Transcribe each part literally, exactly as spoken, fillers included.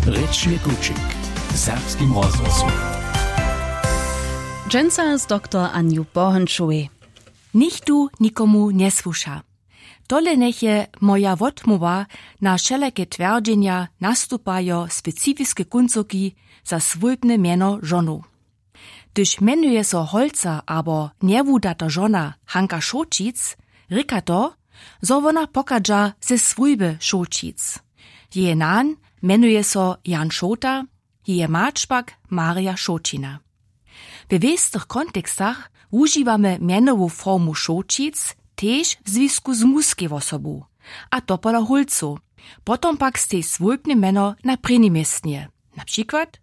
Rěčny kućik w serbskim rozhłosu. Dźensa z doktor Anju Bohončowej. Nichtó nikomu njesłuša. Tole njeche moja wotmołwa na wšelake twjerdźenja, nastupajo specifiske kóncoki za swójbne mjeno žonow. Hdyž mjenuje so holca abo njewudata žona Hanka Šołćic, rěka to, zo wona pochadźa ze swójby Šołćic. Jeje nan mjenuje so Jan Šołta, jeje mać pak Marja Šołćina. We wěstych kontekstach wužiwamy mjenowu formu Šołćic tež w zwisku z muskej wosobu, a to pola hólcow, potom pak stej swójbne mjeno na prěnim městnje. Na přikład,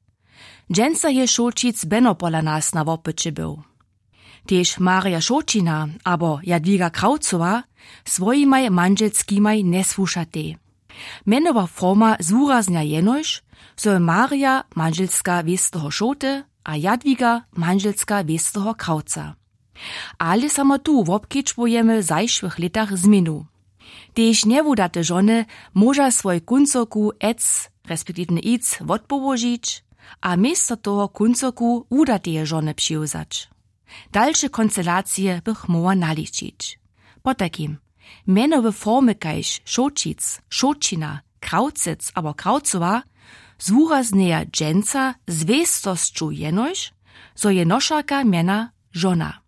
dźensa je Šołćic beno pola nas na wopyće był. Tež Marja Šołćina abo Jadwiga Krawcowa swojimaj mandźelskimaj njesłušatej. Mjenowa forma zwuraznja jenož, zo je Marja mandźelska wěsteho Šołty a Jadwiga mandźelska wěsteho Krawca. Ale samo tu wobkedźbujemy w zašłych lětach změnu. Tež njewudate žony móža swój kóncoku ec respektiwne ic wotpołožić a město toho kóncoku wudateje žony přiwzać. Dalše konstelacije bych móhła naličić. Potajkim, mjenowe formy kaž Šołćic, Šołćina, Krawcec abo Krawcowa zwuraznjeja dźensa z wěstosću jenož, zo je nošerka mjena žona.